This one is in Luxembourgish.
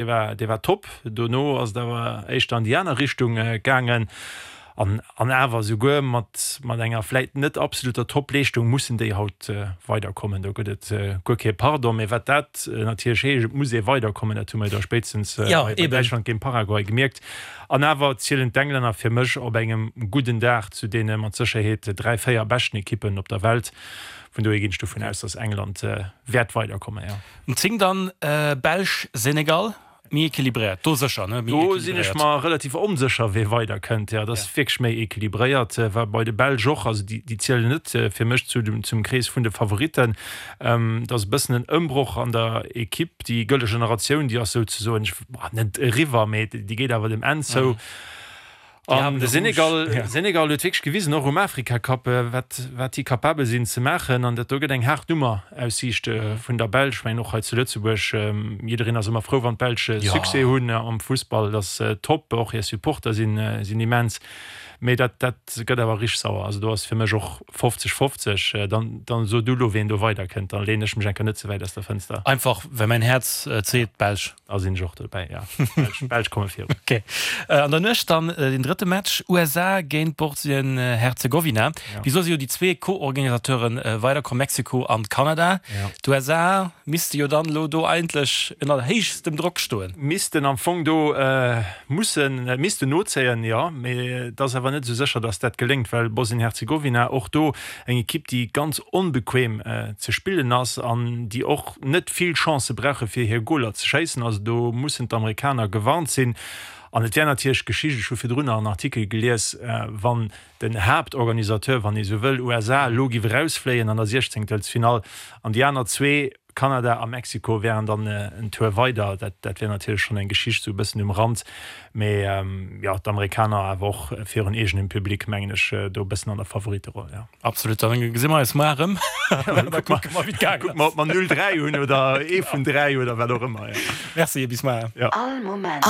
Dee war, dee war top. Dono ass et awer éischter an déi aner Richtung gaangen. An, an awer souguer mat, mat enger vläit net absoluter Top-Leeschtung mussen déi haut weiderkommen. Do gëtt et guer kee Pardon. Mee wat dat natierlech heescht, et muss ee weiderkommen, dat hu mer jo da spéitstens bei Däitschland géint Paraguay gemierkt. An awer zielen d'Englänner fir mech op engem gudden Dag zu deene mat Sécherheet 3, 4 beschten Ekippen op der Welt. Vun dohier ginn ech dovun aus, datt England wäert weiderkommen, jo. Um 10 dann Belsch, Senegal, méi equilibréiert do sécher, ne? Méi Do sinn ech mer relativ onsécher, wee weider kënnt. Jo, et ass wierklech méi equilibréiert. War bei de Belsch och. Also déi, déi zielen net fir mech zu dem, zum Krees vun de Favoritten. Et ass e bëssen en Ëmbroch an der Ekipp. Déi gëlle Generatioun, déi ass souzesoen, ech, net eriwwer, mee déi geet awer dem Enn zou. An de Senegal, Senegal huet wierklech gewisen, och um Afrika-Cup, wat, wat déi capabel sinn ze maachen. An dat do gëtt eng haart Nummer aus Siicht vun der Belsch. Ech mengen och hei zu Lëtzebuerg, jiddereen ass ëmmer frou, wann d'Belsch Succès hunn am Fussball. Dat ass top, och hir Supporter sinn, sinn immens. Mee dat, dat gëtt awer richteg sauer. Also do ass fir mech och 50, 50. Dann, dann so du elo, ween do weiderkënnt. Dann leeën ech mech eng Kéier net ze wäit aus der Fënster. Einfach well mäin Häerz et seet, d'Belsch. Da sinn ech och dobäi, jo. D'Belsch komme virun. Ok. An der Nuecht dann den drëtte Match, USA géint Bosnien-Herzegowina. Bis elo si jo déi zwee Co-Organisateuren weiderkomm, Mexiko an Kanada. D'USA misste jo dann elo do eigentlech ënner héichstem Drock stoen. Missten am Fong do mussen, missten nozéien, jo. Mee et ass awer net esou sécher, datt dat geléngt, well Bosnien-Herzegowina och do eng Ekipp, déi ganz onbequem ze spillen ass an déi och net vill Chancë brauche fir hir Goler ze schéissen. Also do mussen d'Amerikaner gewarnt sinn. An et wär natierlech Geschicht, ech hu virdrun nach en Artikel gelies, wann den Haaptorganisateur, wann ee sou wëll, USA, elo giff erausfléien an der Siechzéngtelsfinall an déi aner zwee, Kanada a Mexiko, wären dann en Tour weider. Dat dat wär natierlech schonn eng Geschicht sou e bëssen um Rand. Mee jo, d'Amerikaner awer och virun eegenem Public, mengen ech, do e bëssen an der Favoritteroll, jo. Absolut, dann gesi mer eis moar erëm. Da kucke mer, wéi et gaangen ass. Kucke mer, ob mer 0, 3 hunn oder ee vun 3 oder wat och ëmmer, jo. Merci, bis moar. Jo. All Moment.